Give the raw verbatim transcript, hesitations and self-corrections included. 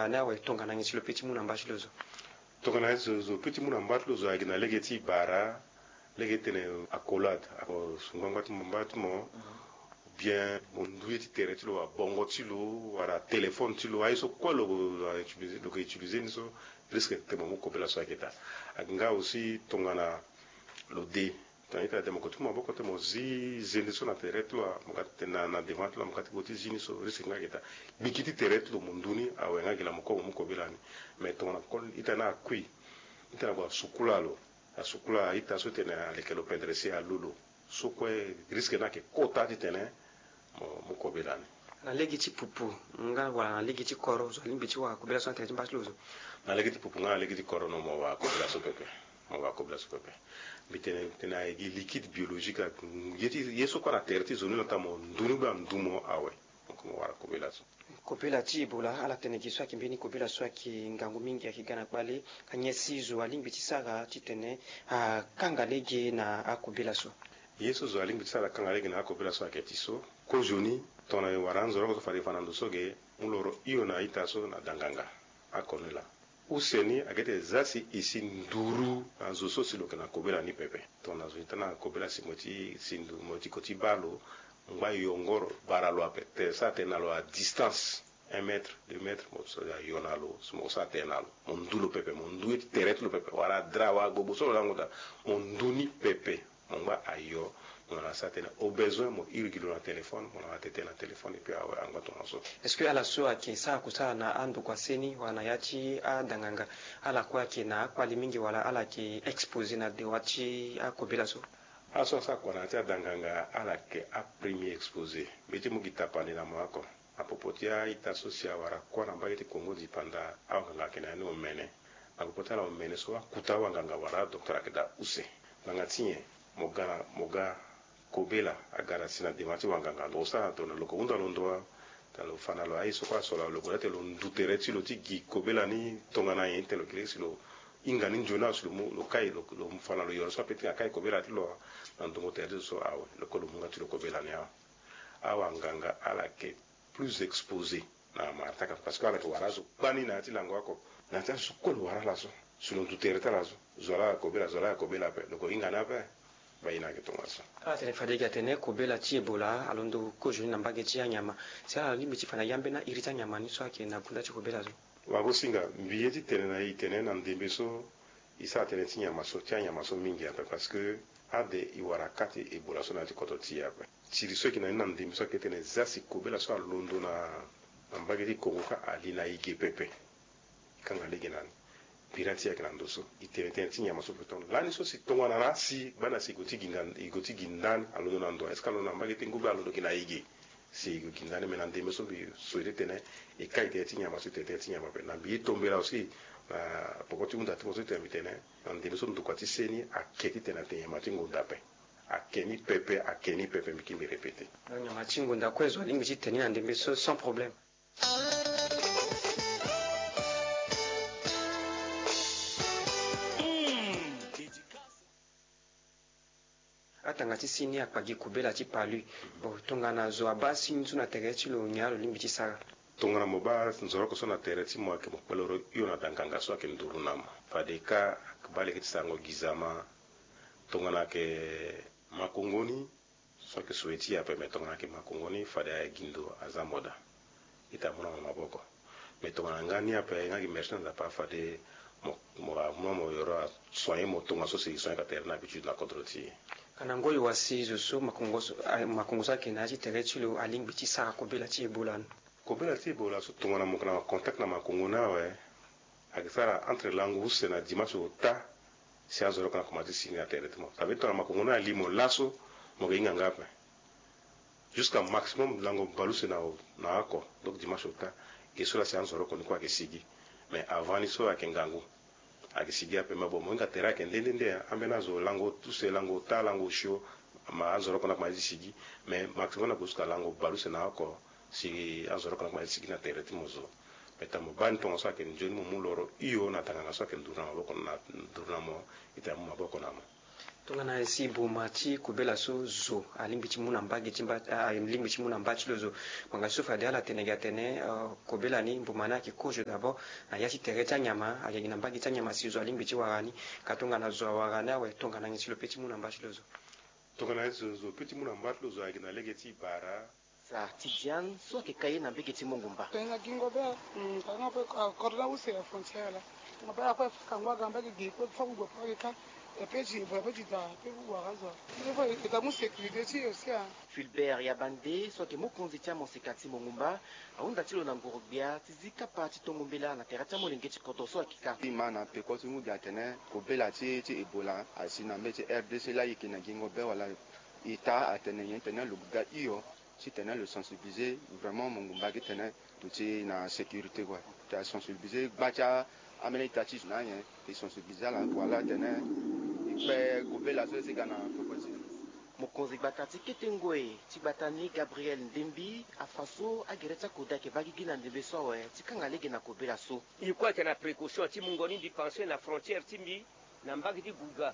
Ane awe tongana nyen si lo peut ti mu na mba ti lo zo? Tongana nyen si lo peut ti mu na mba ti lo zo ayeke na lege ti bara, lege ti tene accolade, ako su ngbangba ti mo, mba ti mo, bien mo ndu ye ti tere ti lo, abongo ti lo, wala téléphone ti lo, aye so kue lo, lo ke utiliser ni so, risque ti tene mo mu kobela so ayeke daa. Ayeke nga aussi tongana lo de, tongana ita de mo ko ti mu maboko ti mo zi zende so na tere ti lo, mo ka ti tene na, na devant ti lo, mo ka ti gue ti zi ni so, risque nga ayeke daa. Gbiki ti tere ti lo mo ndu ni awe nga gi laa mo kue mo mu kobela ni. Mais tongana kol ita ni akui, ita ni ague asukula lo, asukula ita so ti tene aleke lo pendere si alu lo, so kue risque ni ayeke kota ti tene mo mu kobela ni. Na lege ti pupu nga wala na lege ti koro zo alingbi ti wara kobela so na tere ti mba ti lo zo? Na lege ti pupu nga na lege ti koro no mo wara kobela so pepe. Mo wara kobela so pepe. Mbi tene, tene ayeke gi liquide biologique, ye ti, ye so kue na tere ti zo ni na ota mo ndu ni bla ndu mo awe. Donc mo wara kobela so. Kobela ti Ebola, ala tene gi so ayeke mbeni kobela so ayeke ngangu mingi, ayeke ga na kpale. Ka nyen si zo alingbi ti sara ti tene akanga lege na akobela so? Ye so zo alingbi ti sara akanga lege na akobela so ayeke ti so, kozoni, tongana e wara anzoroko so fade e fa na ndo so ge, mu loro hio na ita so na danganga, ako ni laa. Use ni ayeke ti tene za si e si nduru na zo so si lo yeke na kobela ni pepe. Tongana zo ni tana kobela si mo ti si nduru, mo ti ko ti baa lo, ngba yongoro bara lo ape, te sa tene na lo à distance un mètre, deux mètres, mo so ayo na lo, so mo so atene na lo, mo ndu lo pepe, mo ndu ye ti tere ti lo pepe, wala dra, wala gbogbo so lo lango daa, mo ndu ni pepe. Mo ngba ayo, mo na sa tene au besoin mo iri gi lo na téléphone, mo na tene na téléphone, et puis awe angba tongaso. Est-ce que ala so ayeke sara kusala na andokua seni wala na ya ti adanganga, ala kue ayeke na akpali mingi wala ala yeke exposé na dewa ti akobela so? Ala so asara kua na ya ti adanganga ala yeke apremier exposé. Mbi ye ti mu gi tapande na mo oko. Apopo ti a-ita so si awara kuâ na mbage ti Kongo dipanda, awanganga ayeke na ya ni omene. Apopo ti ala omene so akuta awanganga wala adocteur ayeke daa use. Ngbanga ti nyen? Mo ga na, mo ga kobela aga na si na dema ti wanganga. Lo sara na ndo na lo ko hunda lo ndo wa. Tongana lo fa na lo aye so kue aso na lo, lo gue daa tene lo ndu tere ti lo ti gi kobela ni tongana nyen ti tene lo yeke lege si lo hinga ni nzoni awe si lo mu, lo kai, lo, lo fa na lo yoro so apeut ti hinga kai kobela ti lo wa. Na ndongo tere ti lo so awe, lo kue lo mu nga ti lo kobela ni awe. Awanganga ala yeke plus exposé na mara ti akapa, parce que ala yeke wara azo kpani na ya ti lango oko. Na ya ti azo so kue lo wara ala so, si lo ndu tere ti ala so, zo laa ayeke kobela, zo laa ayeke kobela ape, lo ko hinga ni ape. Mbi ye na ayeke tongaso. Ala tene fade gi atene kobela ti Ebola alondo kozoni na mbage ti anyama. Si ala lingbi ti fa na yâ ambeni airi ti anyama ni so ayeke na gunda ti kobela so? Wagosinga, mbi ye ti tene na e tene na ndembe so, e sara tënë ti nyama so, ti anyama so mingi ape, parce que ade e wara ka ti Ebola so na ya ti kodro ti e ape. Siri so e yeke na ni na ndembe so ayeke tene za si kobela so alondo na, na mbage ti Kongo kâ ali na e ge pepe. E kanga lege na ni. Bira ti e ayeke na ndo so. E tene tënë ti nyama so pepe. Lani so si tongana na asi, bana si e gue ti gi nda, e gue ti gi nda ni, alondo na ndo, est-ce que alondo na mbage ti Kongo be alondo gi na e ge? Si e gue gi nda ni, me na ndembe so mbi so e ti tene, e kai tënë ti nyama so, e tene tënë ti nyama ape. Na mbi ye tombela aussi na poko ti hunda ti mo so e tene mbi tene, na ndembe so ndokua ti seni ake ti tene atene nyama ti ngonda ape. Ake ni pepe, ake ni pepe, mbi kiri mbi répéter. Donc nyama ti ngonda kue zo alingbi ti tene ni na ndembe so sans problème. Atanga ti si ni akpa gi kobela ti palu. Bon, tongana zo abaa si ni so na tere ti lo, nyen lo lingbi ti sara? Tongana mo baa nzoroko so na tere ti mo, ayeke mo kpelero hio na danganga so ayeke nduru na mo. Fade kâ, ayeke baa lege ti sarango gi zama. Tongana ayeke makongo ni, so ayeke souhaité ape, me tongana ayeke makongo ni, fade aye gi ndo aza mo daa. Ita mu na mo maboko. Me tongana nga ni ape, nga gi mersi na Nzapa, fade mo, mo, mo, mo yoro asoigné mo tongaso si e soigné ka tere na habitude na kodro ti e. Ka na ngoi wa si zo so makongo so, a, makongo so ayeke na ya ti tere ti lo alingbi ti sara kobela ti Ebola ni? Kobela ti Ebola so tongana mo yeke na contact na makongo ni awe, ayeke sara entre lango use na dimanche ota, si anzoroko ni akomanse ti sigi na tere ti mo. Ça veut dire tongana makongo ni ali mo laso, mo yeke hinga nga ape. Jusqu'à maximum lango baleuse na, na oko, donc dimanche ota, e so laa si anzoroko ni kue ayeke sigi. Mais avant ni so ayeke ngangu. Ayeke sigi ape, mais bon, mo hinga tere ayeke nde nde nde, hein. Ambeni azo lango use, lango ota, lango osio, ma anzoroko ni akomanse ti sigi. Mais maximum na gue jusqu'à lango baleuse na oko, si anzoroko ni akomanse ti sigi na tere ti mo zo. Mais tongana mo baa ni tongaso ayeke nzoni mo mu loro hio na tanganga so ayeke nduru na maboko na, nduru na mo, ita mu maboko na mo. Tongana si boma ti kobela so zo alingbi ti mu na mbage ti mba, alingbi ti mu na mba ti lo zo. Ngbanga so fade ala tene gi atene, euh, kobela ni, boma ni ayeke kozo d'abord na ya ti tere ti anyama, ayeke gi na mbage ti anyama si zo alingbi ti wara ni. Ka tongana zo awara ni awe, tongana nyen si lo pe ti mu na mba ti lo zo? Tongana zo, zo pe ti mu na mba ti lo zo ayeke na lege ti bara. Sa ti Diane so ayeke ka ye na mbage ti Mongumba. Tena gingo be, mm, tanga pe, ah, cordon use ya frontière la. Nga be akue fa kangba ga mbage gi pe fa kugbo pe ka. E pe ti bo pe ti da pe kugbo aga zo. Pe fo e ta mu sécurité ti e aussi, ah. Fulbert Yabande so ayeke mokonzi ti amoseka ti Mongumba ahunda ti lo na ngoro-gbia ti zi kapa ti tongo mbela na tere ti amolenge ti kodro so ayeke ka. Ti ma na peko ti mu gi atene kobela ti, ti Ebola asi na mbage ti R D C laa e yeke na gingo be wala? Ita atene nyen titene lo ga hio titene lo sensibiliser vraiment Mongumba gi titene lo ti na sécurité kue. Ti asensibiliser gba ti ambeni ita ti zo na nyen ti sensibiliser ala wala titene e kpe kobela so e si ga na peko ti. Mokonzi gbata ti kete ngoi ti gbata ni Gabriel Ndembi afa so agere ti akoda ayeke baa gigi na ndembe so awe ti kanga lege na kobela so. Mbi kue ayeke na précaution ti mungo ni mbi pensé na frontière ti mbi na mbage ti Gouga.